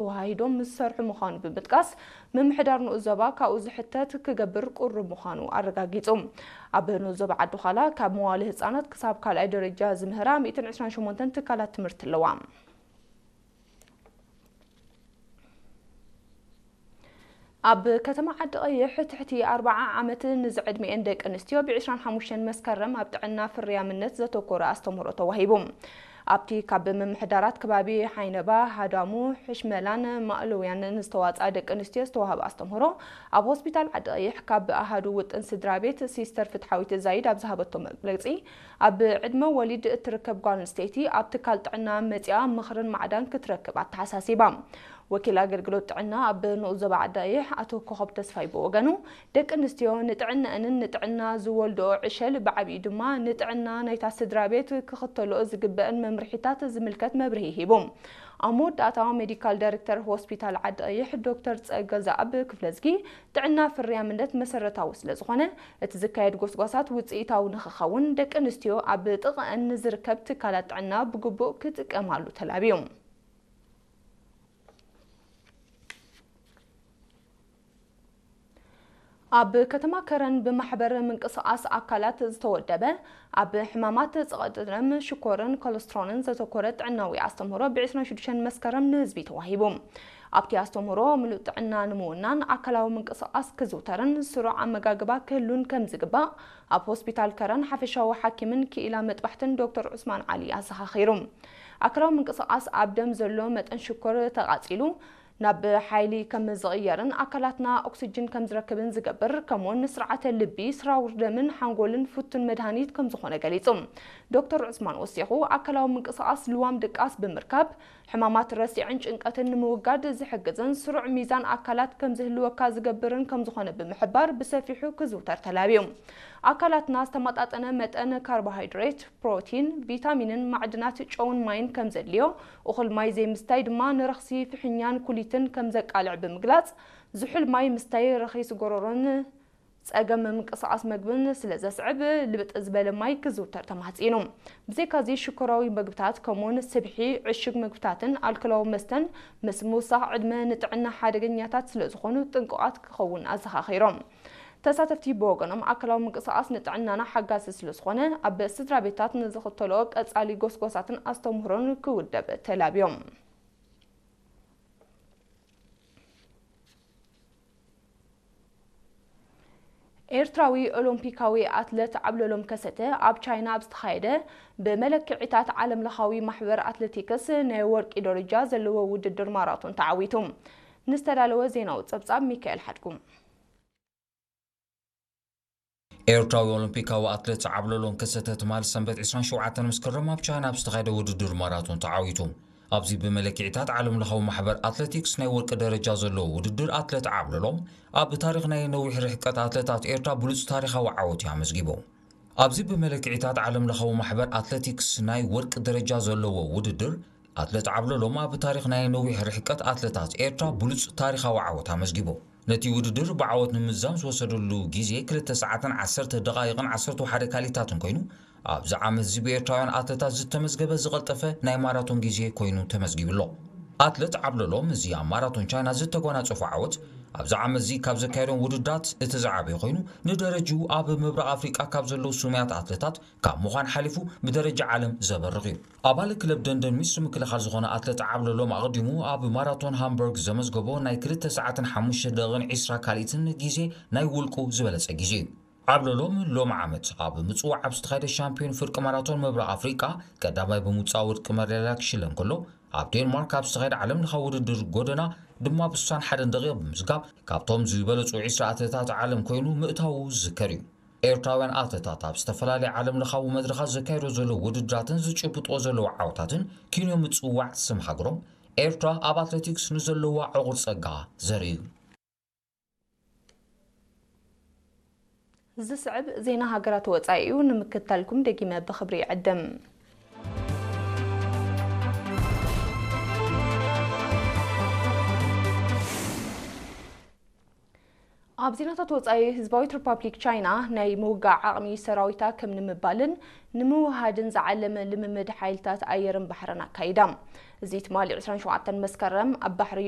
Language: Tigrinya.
ተወሃሂዶም ምስ ዝሰርሑ ምዃኑ ብምጥቃስ፣ ምምሕዳር ንኡስ ዞባ ካብኡ ዝሕተት ክገብር ቁሩብ ምዃኑ ኣረጋጊጹ። ኣብ ንኡስ ዞባ ዓዲ ዃላ ካብ መዋሊ ህጻናት ክሳብ ካልኣይ ደረጃ ዝምህራ ሚእትን ዕስራን ሸሞንተን ትካላት ትምህርቲ ኣለዋ። ኣብ ከተማ ዓዲ ቀይሕ ትሕቲ ኣርብዓ ዓመት ንዝዕድሚኤን ደቂ ኣንስትዮ ብ ዕስራን ሓሙሽተን መስከረም ኣብ ጥዕና ፍርያምነት ዘተኮረ ኣስተምህሮ ተዋሂቡ። ኣብቲ ካብ ምምሕዳራት ከባቢ ሓይነባ፣ ሃዳሙ፣ ሕሽመላን ማእለውያን ንዝተዋፅኣ ደቂ ኣንስትዮ ዝተዋህበ ኣስተምህሮ ኣብ ሆስፒታል ዓዲ ቀይሕ ካብ ኣሃዱ ውጥን ስድራ ቤት ሲስተር ፍትሓዊት ዛይድ ኣብ ዝሃበቶ መግለፂ፣ ኣብ ዕድመ ወሊድ እትርከብ ጓል ኣንስተይቲ ኣብ ትካል ጥዕና መፂኣ ምኽርን ማዕዳን ክትረክብ ኣተሓሳሲባ። ወኪል ኣገልግሎት ጥዕና ኣብ ንኡስ ዞባ ዓዲ ቀይሕ ኣቶ ኮኸብ ተስፋይ ብወገኑ፣ ደቂ ኣንስትዮ ንጥዕናኣንን ንጥዕና ዝወልድኦ ዕሸል ብዓቢኡ ድማ ንጥዕና ናይታ ስድራ ቤት ክኽተልኦ ዝግበአን መምርሒታት ዝምልከት መብርሂ ሂቡ። ኣብ መወዳእታ ሜዲካል ዳይሬክተር ሆስፒታል ዓዲ ቀይሕ ዶክተር ጸገ ዘኣብ ክፍለዝጊ፣ ጥዕና ፍርያምነት መሰረታዊ ስለ ዝኾነ፣ እቲ ዝካየድ ጎስጓሳት ውጽኢታዊ ንኽኸውን ደቂ ኣንስትዮ ኣብ ጥቕአን ንዝርከብ ትካላት ጥዕና ብግቡእ ክጥቀማሉ ተላብዩ። ኣብ ከተማ ከረን ብማሕበር ምንቅስቓስ ኣካላት ዝተወደበ ኣብ ሕማማት ጸቕጢ ደም፣ ሽኮርን ኮለስትሮልን ዘተኮረ ጥዕናዊ ኣስተምህሮ ብ ዕስራን ሽዱሽተን መስከረም ንህዝቢ ተዋሂቡ። ኣብቲ ኣስተምህሮ ምሉእ ጥዕና ንምውናን ኣካላዊ ምንቅስቓስ ክዝውተርን ስሩዕ ኣመጋግባ ክህሉን ከም ዝግባእ ኣብ ሆስፒታል ከረን ሓፈሻዊ ሓኪምን ክኢላ መጥባሕትን ዶክተር ዑስማን ዓሊ ኣዘኻኺሩ። ኣካላዊ ምንቅስቓስ ኣብ ደም ዘሎ መጠን ሽኮር ተቓጺሉ ናብ ሓይሊ ከም ዝቕየርን ኣካላትና ኦክስጅን ከም ዝረክብን ዝገብር፣ ከምኡውን ንስርዓተ ልቢ፣ ስራውር ደምን ሓንጎልን ፍቱን መድሃኒት ከም ዝኾነ ገሊጹ። ዶክተር ዑስማን ወሲኹ፣ ኣካላዊ ምንቅስቓስ ልዋም ድቃስ ብምርካብ፣ ሕማማት ረሲዕን ጭንቀትን ንምውጋድ ዝሕግዝን ስሩዕ ሚዛን ኣካላት ከም ዝህልወካ ዝገብርን ከም ዝኾነ ብምሕባር፣ ብሰፊሑ ክዝውተር ተላብዩ። ኣካላትና ዝተመጣጠነ መጠን ካርቦሃይድሬት፣ ፕሮቲን፣ ቪታሚንን ማዕድናት ጨውን ማይን ከም ዘድልዮ፣ እኹል ማይ ዘይምስታይ ድማ ንረኽሲ ፍሕኛን ኩሊትን ከም ዘቃልዕ ብምግላጽ፣ ዝሑል ማይ ምስታይ ረኺስ ጎረሮን ጸገም ምንቅስቓስ መግብን ስለ ዘስዕብ፣ ልብጥ ዝበለ ማይ ክዝውተር ተማሕጺኑ። ብዘይካዚ፣ ሽኮራዊ መግብታት ከምኡውን ስብሒ፣ ዕሹግ መግብታትን ኣልኮላዊ መስተን ምስ ምውሳኽ ዕድመ ንጥዕና ሓደገኛታት ስለ ዝኾኑ ጥንቁቓት ክኸውን ኣዘኻኺሮም። ተሳተፍቲ ብወገኖም፣ ኣካላዊ ምንቅስቓስ ንጥዕናና ሓጋዚ ስለ ዝኾነ፣ ኣብ ስድራ ቤታት ንዝኽተልኦ ቀጻሊ ጎስጓሳትን ኣስተምህሮን ክውደብ ተላብዮም። ኤርትራዊ ኦሎምፒካዊ ኣትለት ዓብለሎም ከሰተ ኣብ ቻይና ኣብ ዝተኻየደ ብመለክዒታት ዓለምለኻዊ ማሕበር ኣትሌቲክስ ናይ ወርቂ ደረጃ ዘለዎ ውድድር ማራቶን ተዓዊቱ። ንዝተዳለወ ዜናዊ ጸብጻብ ሚካኤል ሓድጉ። ኤርትራዊ ኦሎምፒካዊ ኣትሌት ዓብለሎም ከሰተ ትማል ሰንበት ዕስራን ሸውዓተን መስከረም ኣብ ቻይና ኣብ ዝተኻየደ ውድድር ማራቶን ተዓዊቱ። ኣብዚ ብመለክዒታት ዓለምለኻዊ ማሕበር ኣትሌቲክስ ናይ ወርቂ ደረጃ ዘለዎ ውድድር ኣትሌት ዓብለሎም ኣብ ታሪኽ ናይ ነዊሕ ርሕቀት ኣትሌታት ኤርትራ ብሉጽ ታሪኻዊ ዓወት እዩ ኣመዝጊቡ። ኣብዚ ብመለክዒታት ዓለምለኻዊ ማሕበር ኣትሌቲክስ ናይ ወርቂ ደረጃ ዘለዎ ውድድር ኣትሌት ዓብለሎም ኣብ ታሪኽ ናይ ነዊሕ ርሕቀት ኣትሌታት ኤርትራ ብሉጽ ታሪኻዊ ዓወት ኣመዝጊቡ። ነቲ ውድድር ብዓወት ንምዝዛም ዝወሰደሉ ግዜ ክልተ ሰዓትን ዓሰርተ ደቓይቕን ዓሰርተ ሓደ ካሊታትን ኮይኑ፣ ኣብዚ ዓመት እዚ ብኤርትራውያን ኣትሌታት ዝተመዝገበ ዝቐልጠፈ ናይ ማራቶን ግዜ ኮይኑ ተመዝጊቡ ኣሎ። ኣትሌት ዓብለሎም እዚ ኣብ ማራቶን ቻይና ዝተጎናጸፎ ዓወት ኣብዚ ዓመት እዚ ካብ ዘካየዶም ውድድራት እቲ ዝዓበየ ኮይኑ፣ ንደረጅኡ ኣብ ምብራቕ ኣፍሪቃ ካብ ዘለዉ ስሙያት ኣትሌታት ካብ ምዃን ሓሊፉ ብደረጃ ዓለም ዘበርቕ እዩ። ኣባል ክለብ ደንደን ሚስ ምክልኻል ዝኾነ ኣትሌት ዓብለሎም ኣቐዲሙ ኣብ ማራቶን ሃምበርግ ዘመዝገቦ ናይ ክልተ ሰዓትን ሓሙሽተ ደቂቕን ዕስራ ካልኢትን ግዜ ናይ ውልቁ ዝበለጸ ግዜ እዩ። ዓብለሎም ሎሚ ዓመት ኣብ ምጽዋዕ ኣብ ዝተኻየደ ሻምፒዮን ፍርቂ ማራቶን ምብራቕ ኣፍሪቃ ቀዳማይ ብምውጻእ ወርቂ መዳልያ ክሽለም ከሎ፣ ኣብ ዴንማርክ ኣብ ዝተኻየደ ዓለምለኻዊ ውድድር ጎደና ድማ ብ ስሳን ሓደን ደቂቕ ብምዝጋብ ካብቶም ዝበለጹ ዕስራ ኣትሌታት ዓለም ኮይኑ ምእታዉ ዝዝከር እዩ። ኤርትራውያን ኣትሌታት ኣብ ዝተፈላለዩ ዓለምለኻዊ መድረኻት ዘካየዶ ዘለዉ ውድድራትን ዝጭብጥዎ ዘለዉ ዓወታትን ኪንዮ ምጽዋዕ ስም ሃገሮም ኤርትራ ኣብ ኣትሌቲክስ ንዘለዋ ዕቑር ጸጋ ዘርኢ እዩ። ዝስዕብ ዜና ሃገራት ወጻኢ እዩ። ንምክትታልኩም ደጊመ ብኽብሪ ይዕድም። ኣብ ዜናታት ወጻኢ፣ ህዝባዊት ሪፓብሊክ ቻይና ናይ ምውጋእ ዓቕሚ ሰራዊታ ከም ንምባልን ንምውሃድን ዝዓለመ ልምምድ ሓይልታት ኣየርን ባሕርን ኣካይዳ። እዚ ትማሊ ዕስራን ሸውዓተን መስከረም ኣብ ባሕሪ